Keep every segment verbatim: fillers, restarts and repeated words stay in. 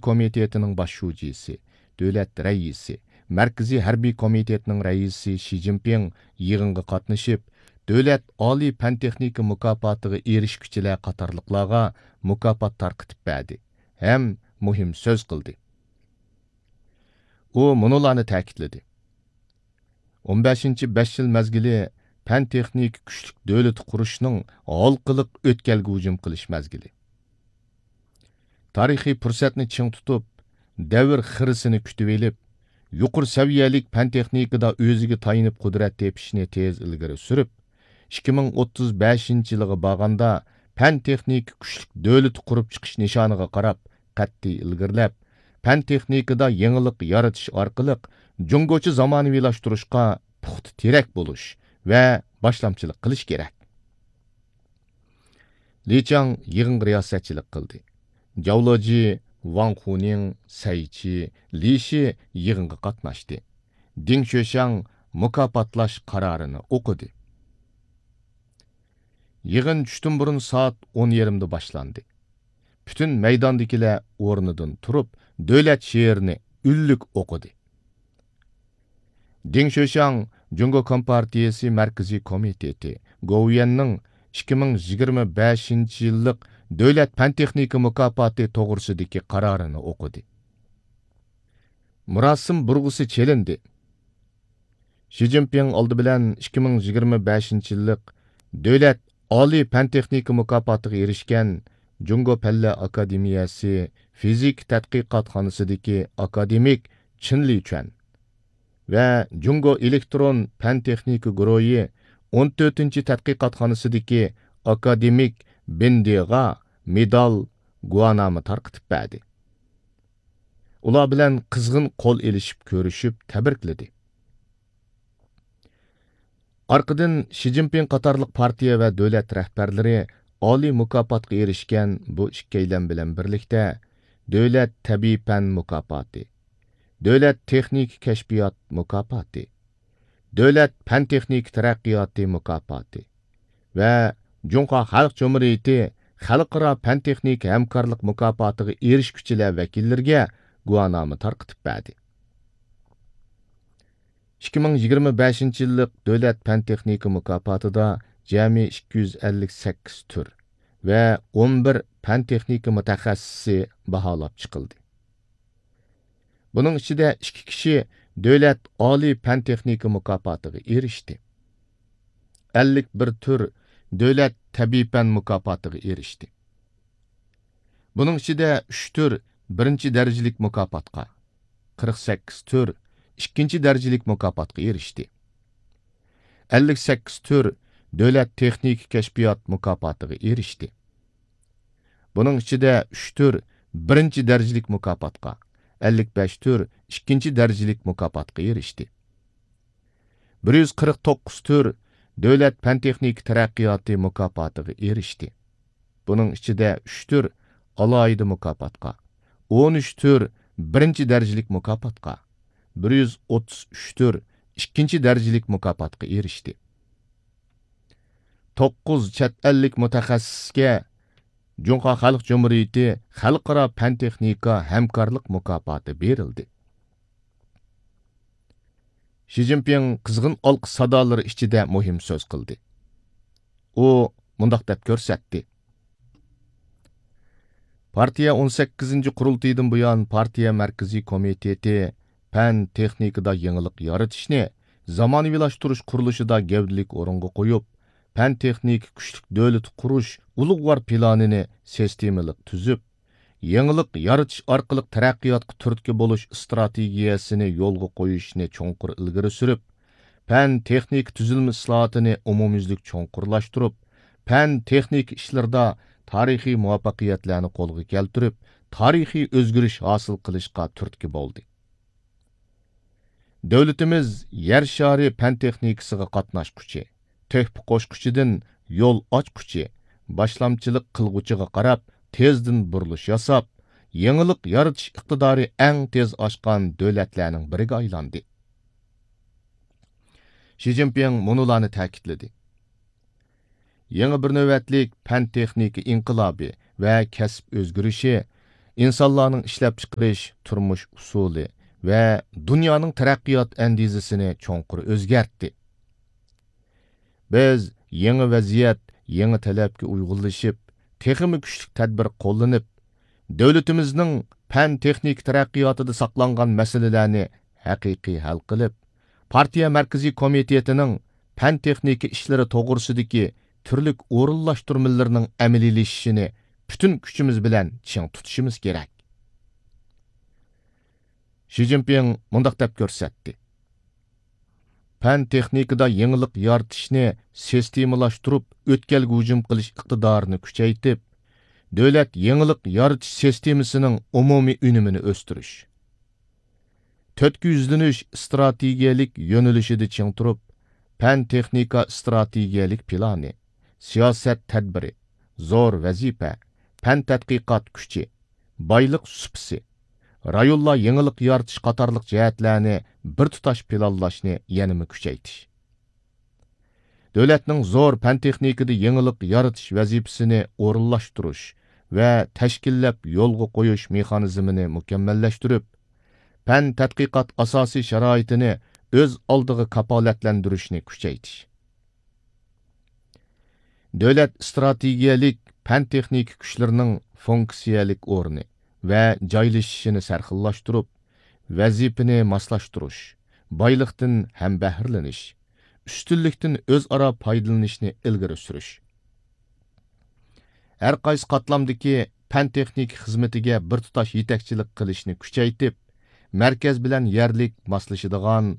كومىتېتىنىڭ باش شۇجىسى، دۆلەت رەئىسى، مەركىزىي ھەربىي كومىتېتنىڭ رەئىسى شى جىنپىڭ يىغىنغا قاتنىشىپ، دۆلەت ئالىي پەن-تېخنىكا مۇكاپاتىغا ئېرىشكۈچىلەر قاتارلىقلارغا مۇكاپات تارقىتىپ بەردى ھەم مۇھىم سۆز قىلدى. ئۇ مۇنۇلارنى تەكىتلىدى: ئون بەشىنچى بەش يىل مەزگىلى پەن-تېخنىكا كۈچلۈك دۆلىتى قۇرۇشنىڭ ھالقىلىق ئۆتكەلگە ھۇجۇم قىلىش مەزگىلى. تارىخىي پۇرسەتنى چىڭ تۇتۇپ، دەۋر خىرىسىنى كۈتۈۋېلىپ، يۇقىرى سەۋىيەلىك پەن-تېخنىكىدا ئۆزىگە تايىنىپ قۇدرەت تېپىشنى تېز ئىلگىرى سۈرۈپ، ئىككى مىڭ ئوتتۇز بەشىنچى يىلىغا بارغاندا پەن-تېخنىكا كۈچلۈك دۆلىتى قۇرۇپ چىقىش نىشانىغا قاراپ قەتئىي ئىلگىرىلەپ، پەن-تېخنىكىدا يېڭىلىق يارىتىش ئارقىلىق جۇڭگوچە زامانىۋىلاشتۇرۇشقا پۇختا تىرەك بولۇش ۋە باشلامچىلىق قىلىش كېرەك. لى چاڭ يىغىنغا رىياسەتچىلىك قىلدى. جاۋ لېجى، ۋاڭ خۇنىڭ، سەي چى، لى شى يىغىنغا قاتناشتى. دىڭ شۆشياڭ مۇكاپاتلاش قارارىنى ئوقۇدى. يىغىن چۈشتىن بۇرۇن سائەت ئون يېرىمدا باشلاندى. پۈتۈن مەيداندىكىلەر ئورنىدىن تۇرۇپ، دۆلەت شېئىرىنى ئۈنلۈك ئوقۇدى. دىڭ شۆشياڭ جۇڭگو كومپارتىيىسى مەركىزىي كومىتېتى، گوۋۇيۈەننىڭ ئىككى مىڭ يىگىرمە بەشىنچى يىللىق دۆلەت پەن-تېخنىكا مۇكاپاتى توغرىسىدىكى قارارىنى ئوقۇدى. مۇراسىم بۇرغىسى چېلىندى. شى جىنپىڭ ئالدى بىلەن ئىككى مىڭ يىگىرمە بەشىنچى يىللىق دۆلەت ئالىي پەن-تېخنىكا مۇكاپاتىغا ئېرىشكەن جۇڭگو پەنلەر ئاكادېمىيەسى فىزىكا تەتقىقاتخانىسىدىكى ئاكادېمىك چېن لىچۈەن ۋە جۇڭگو ئېلېكترون پەن-تېخنىكا گۇرۇھى ئون تۆتىنچى تەتقىقاتخانىسىدىكى ئاكادېمىك بىن دېغا مېدال، گۇۋاھنامە تارقىتىپ بەردى. ئۇلار بىلەن قىزغىن قول ئېلىشىپ كۆرۈشۈپ تەبرىكلىدى. ئارقىدىن شى جىنپىڭ قاتارلىق پارتىيە ۋە دۆلەت رەھبەرلىرى ئالىي مۇكاپاتقا ئېرىشكەن بۇ ئىككىيلەن بىلەن بىرلىكتە دۆلەت تەبىئىي پەن مۇكاپاتى، دۆلەت تېخنىكا كەشپىيات مۇكاپاتى، دۆلەت پەن-تېخنىكا تەرەققىياتى مۇكاپاتى ۋە جۇڭخۇا خەلق جۇمھۇرىيىتى خەلقئارا پەن-تېخنىكا ھەمكارلىق مۇكاپاتىغا ئېرىشكۈچىلەر ۋەكىللىرىگە گۇۋاھنامە تارقىتىپ بەردى. ئىككى مىڭ يىگىرمە بەشىنچى يىللىق دۆلەت پەن-تېخنىكا مۇكاپاتىدا جەمئىي ئىككى يۈز ئەللىك سەككىز تۈر ۋە ئون بىر پەن-تېخنىكا مۇتەخەسسىسى باھالاپ چىقىلدى. بۇنىڭ ئىچىدە ئىككى كىشى دۆلەت ئالىي پەن-تېخنىكا مۇكاپاتىغا ئېرىشتى. ئەللىك بىر تۈر دۆلەت تەبىئىي پەن مۇكاپاتىغا ئېرىشتى. بۇنىڭ ئىچىدە ئۈچ تۈر بىرىنچى دەرىجىلىك مۇكاپاتقا، قىرىق سەككىز تۈر ئىككىنچى دەرىجىلىك مۇكاپاتقا ئېرىشتى. ئەللىك سەككىز تۈر دۆلەت تېخنىكا كەشپىيات مۇكاپاتىغا ئېرىشتى. بۇنىڭ ئىچىدە ئۈچ تۈر بىرىنچى دەرىجىلىك مۇكاپاتقا، ئەللىك بەش تۈر ئىككىنچى دەرىجىلىك مۇكاپاتقا ئېرىشتى. بىر يۈز قىرىق توققۇز تۈر دۆلەت پەن-تېخنىكا تەرەققىياتى مۇكاپاتىغا ئېرىشتى. بۇنىڭ ئىچىدە ئۈچ تۈر ئالاھىدە مۇكاپاتقا، ئون ئۈچ تۈر بىرىنچى دەرىجىلىك مۇكاپاتقا، بىر يۈز ئوتتۇز ئۈچ تۈر ئىككىنچى دەرىجىلىك مۇكاپاتقا ئېرىشتى. توققۇز چەت ئەللىك مۇتەخەسسىسكە جۇڭخۇا خەلق جۇمھۇرىيىتى خەلقئارا پەن-تېخنىكا ھەمكارلىق مۇكاپاتى بېرىلدى. شى جىنپىڭ قىزغىن ئالقىش سادالىرى ئىچىدە مۇھىم سۆز قىلدى. ئۇ مۇنداق دەپ كۆرسەتتى: پارتىيە ئون سەككىزىنچى قۇرۇلتىيىدىن بۇيان، پارتىيە مەركىزىي كومىتېتى پەن-تېخنىكىدا يېڭىلىق يارىتىشنى، زامانىۋىلاشتۇرۇش قۇرۇلۇشىدا گەۋدىلىك ئورۇنغا قويۇپ، پەن-تېخنىكا كۈچلۈك دۆلىتى قۇرۇش ئۇلۇغۋار پىلانىنى سىستېمىلىق تۈزۈپ، يېڭىلىق يارىتىش ئارقىلىق تەرەققىياتقا تۈرتكە بولۇش ئىستراتېگىيەسىنى يولغا قويۇشنى چوڭقۇر ئىلگىرى سۈرۈپ، پەن-تېخنىكا تۈزۈلمە ئىسلاھاتىنى ئومۇميۈزلۈك چوڭقۇرلاشتۇرۇپ، پەن-تېخنىكا ئىشلىرىدا تارىخىي مۇۋەپپەقىيەتلەرنى قولغا كەلتۈرۈپ، تارىخىي ئۆزگىرىش ھاسىل قىلىشقا تۈرتكە بولدى. دۆلىتىمىز يەر شارى پەن-تېخنىكىسىغا قاتناشقۇچى، تۆھپە قوشقۇچىدىن يول ئاچقۇچى، باشلامچىلىق قىلغۇچىغا قاراپ تېزدىن بۇرۇلۇش ياساپ، يېڭىلىق يارىتىش ئىقتىدارى ئەڭ تېز ئاشقان دۆلەتلەرنىڭ بىرىگە ئايلاندى. شى جىنپىڭ مۇنۇلارنى تەكىتلىدى: يېڭى بىر نۆۋەتلىك پەن-تېخنىكا ئىنقىلابى ۋە كەسىپ ئۆزگىرىشى ئىنسانلارنىڭ ئىشلەپچىقىرىش، تۇرمۇش ئۇسۇلى ۋە دۇنيانىڭ تەرەققىيات ئەندىزىسىنى چوڭقۇر ئۆزگەرتتى. بىز يېڭى ۋەزىيەت، يېڭى تەلەپكە ئۇيغۇنلىشىپ، تېخىمۇ كۈچلۈك تەدبىر قوللىنىپ، دۆلىتىمىزنىڭ پەن-تېخنىكا تەرەققىياتىدا ساقلانغان مەسىلىلەرنى ھەقىقىي ھەل قىلىپ، پارتىيە مەركىزىي كومىتېتىنىڭ پەن-تېخنىكا ئىشلىرى توغرىسىدىكى تۈرلۈك ئورۇنلاشتۇرمىلىرىنىڭ ئەمەلىيلىشىشىنى پۈتۈن كۈچىمىز بىلەن چىڭ تۇتۇشىمىز كېرەك. شى جىنپىڭ مۇنداق دەپ كۆرسەتتى: پەن-تېخنىكىدا يېڭىلىق يارىتىشنى سىستېمىلاشتۇرۇپ، ئۆتكەلگە ھۇجۇم قىلىش ئىقتىدارىنى كۈچەيتىپ، دۆلەت يېڭىلىق يارىتىش سىستېمىسىنىڭ ئومۇمىي ئۈنۈمىنى ئۆستۈرۈش، تۆتكە يۈزلىنىش ئىستراتېگىيەلىك يۆنىلىشىدە چىڭ تۇرۇپ، پەن-تېخنىكا ئىستراتېگىيەلىك پىلانى، سىياسەت تەدبىرى، زور ۋەزىپە، پەن تەتقىقات كۈچى، بايلىق سۇپىسى، رايونلار يېڭىلىق يارىتىش قاتارلىق جەھەتلەرنى بىر تۇتاش پىلانلاشنى يەنىمۇ كۈچەيتىش. دۆلەتنىڭ زور پەن-تېخنىكىدا يېڭىلىق يارىتىش ۋەزىپىسىنى ئورۇنلاشتۇرۇش ۋە تەشكىللەپ يولغا قويۇش مېخانىزمىنى مۇكەممەللەشتۈرۈپ، پەن-تەتقىقات ئاساسىي شارائىتىنى ئۆز ئالدىغا كاپالەتلەندۈرۈشنى كۈچەيتىش. دۆلەت ئىستراتېگىيەلىك پەن-تېخنىكا كۈچلىرىنىڭ فۇنكسىيەلىك ئورنى ۋە جايلىشىشىنى سەرخىللاشتۇرۇپ، ۋەزىپىنى ماسلاشتۇرۇش، بايلىقتىن ھەمبەھرىلىنىش، ئۈستۈنلۈكتىن ئۆزئارا پايدىلىنىشنى ئىلگىرى سۈرۈش. ھەر قايسى قاتلامدىكى پەن-تېخنىكا خىزمىتىگە بىر تۇتاش يېتەكچىلىك قىلىشنى كۈچەيتىپ، مەركەز بىلەن يەرلىك ماسلىشىدىغان،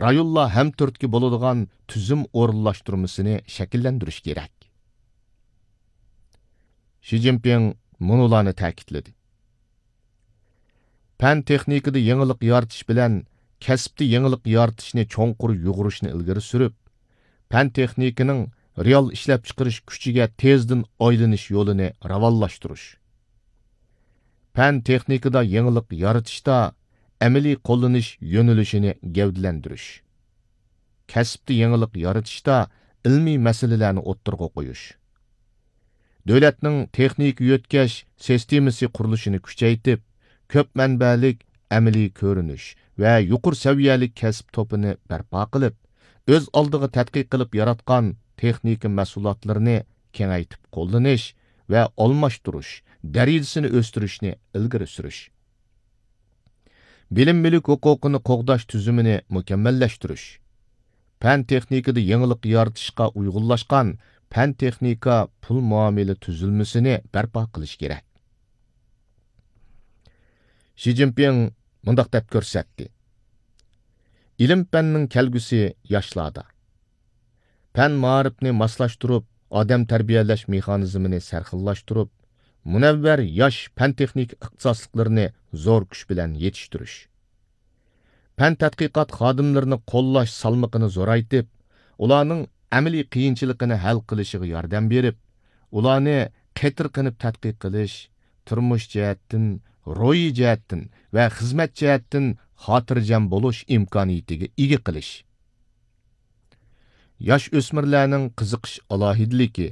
رايونلار ھەمتۈرتكە بولىدىغان تۈزۈم ئورۇنلاشتۇرمىسىنى شەكىللەندۈرۈش كېرەك. شى جىنپىڭ مۇنۇلارنى تەكىتلىدى: پەن-تېخنىكىدا يېڭىلىق يارىتىش بىلەن كەسىپتە يېڭىلىق يارىتىشنى چوڭقۇر يۇغۇرۇشنى ئىلگىرى سۈرۈپ، پەن-تېخنىكىنىڭ رېئال ئىشلەپچىقىرىش كۈچىگە تېزدىن ئايلىنىش يولىنى راۋانلاشتۇرۇش. پەن-تېخنىكىدا يېڭىلىق يارىتىشتا ئەمەلىي قوللىنىش يۆنىلىشىنى گەۋدىلەندۈرۈش. كەسىپتە يېڭىلىق يارىتىشتا ئىلمىي مەسىلىلەرنى ئوتتۇرىغا قويۇش. دۆلەتنىڭ تېخنىكا يۆتكەش سىستېمىسى قۇرۇلۇشىنى كۈچەيتىپ، كۆپ مەنبەلىك ئەمەلىي كۆرۈنۈش ۋە يۇقىرى سەۋىيەلىك كەسىپ توپىنى بەرپا قىلىپ، ئۆز ئالدىغا تەتقىق قىلىپ ياراتقان تېخنىكا مەھسۇلاتلىرىنى كېڭەيتىپ قوللىنىش ۋە ئالماشتۇرۇش دەرىجىسىنى ئۆستۈرۈشنى ئىلگىرى سۈرۈش. بىلىم مۈلۈك ھوقۇقىنى قوغداش تۈزۈمىنى مۇكەممەللەشتۈرۈش. پەن-تېخنىكىدا يېڭىلىق يارىتىشقا ئۇيغۇنلاشقان پەن-تېخنىكا پۇل مۇئامىلە تۈزۈلمىسىنى بەرپا قىلىش كېرەك. شى جىنپىڭ مۇنداق دەپ كۆرسەتتى: ئىلىم-پەننىڭ كەلگۈسى ياشلاردا. پەن-مائارىپنى ماسلاشتۇرۇپ، ئادەم تەربىيەلەش مېخانىزمىنى سەرخىللاشتۇرۇپ، مۇنەۋۋەر ياش پەن-تېخنىكا ئىختىساسلىقلىرىنى زور كۈچ بىلەن يېتىشتۈرۈش. پەن-تەتقىقات خادىملىرىنى قوللاش سالمىقىنى زورايتىپ، ئۇلارنىڭ ئەمەلىي قىيىنچىلىقىنى ھەل قىلىشىغا ياردەم بېرىپ، ئۇلارنى قېتىرقىنىپ تەتقىق قىلىش، تۇرمۇش جەھەتتىن، روھىي جەھەتتىن ۋە خىزمەت جەھەتتىن خاتىرجەم بولۇش ئىمكانىيىتىگە ئىگە قىلىش. ياش ئۆسمۈرلەرنىڭ قىزىقىش ئالاھىدىلىكى،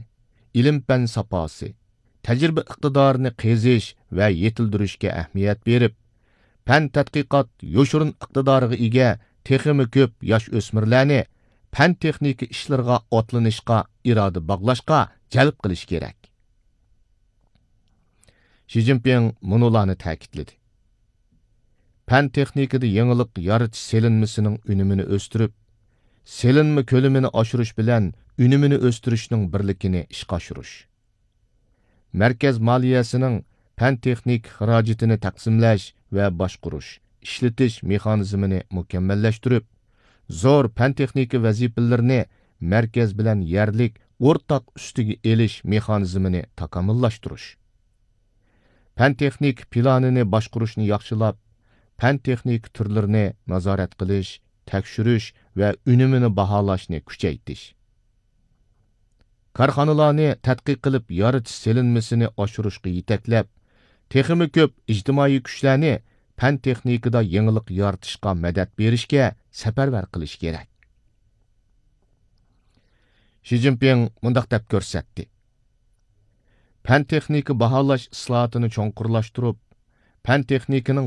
ئىلىم-پەن ساپاسى، تەجرىبە ئىقتىدارىنى قېزىش ۋە يېتىلدۈرۈشكە ئەھمىيەت بېرىپ، پەن-تەتقىقات يوشۇرۇن ئىقتىدارىغا ئىگە تېخىمۇ كۆپ ياش ئۆسمۈرلەرنى پەن-تېخنىكا ئىشلىرىغا ئاتلىنىشقا ئىرادە باغلاشقا جەلپ قىلىش كېرەك. شى جىنپىڭ مۇنۇلارنى تەكىتلىدى: پەن-تېخنىكىدا يېڭىلىق يارىتىش سېلىنمىسىنىڭ ئۈنۈمىنى ئۆستۈرۈپ، سېلىنما كۆلىمىنى ئاشۇرۇش بىلەن ئۈنۈمىنى ئۆستۈرۈشنىڭ بىرلىكىنى ئىشقا ئاشۇرۇش. مەركەز مالىيەسىنىڭ پەن-تېخنىكا خىراجىتىنى تەقسىملەش ۋە باشقۇرۇش، ئىشلىتىش مېخانىزمىنى مۇكەممەللەشتۈرۈپ، زور پەن-تېخنىكا ۋەزىپىلىرىنى مەركەز بىلەن يەرلىك ئورتاق ئۈستىگە ئېلىش مېخانىزمىنى تاكامۇللاشتۇرۇش. پەن-تېخنىكا پىلانىنى باشقۇرۇشنى ياخشىلاپ، پەن-تېخنىكا تۈرلىرىنى نازارەت قىلىش، تەكشۈرۈش ۋە ئۈنۈمىنى باھالاشنى كۈچەيتىش. كارخانىلارنى تەتقىق قىلىپ يارىتىش سېلىنمىسىنى ئاشۇرۇشقا يېتەكلەپ، تېخىمۇ كۆپ ئىجتىمائىي كۈچلەرنى پەن-تېخنىكىدا يېڭىلىق يارىتىشقا مەدەت بېرىشكە سەپەرۋەر قىلىش كېرەك. شى جىنپىڭ مۇنداق دەپ كۆرسەتتى: پەن-تېخنىكا باھالاش ئىسلاھاتىنى چوڭقۇرلاشتۇرۇپ، پەن-تېخنىكىنىڭ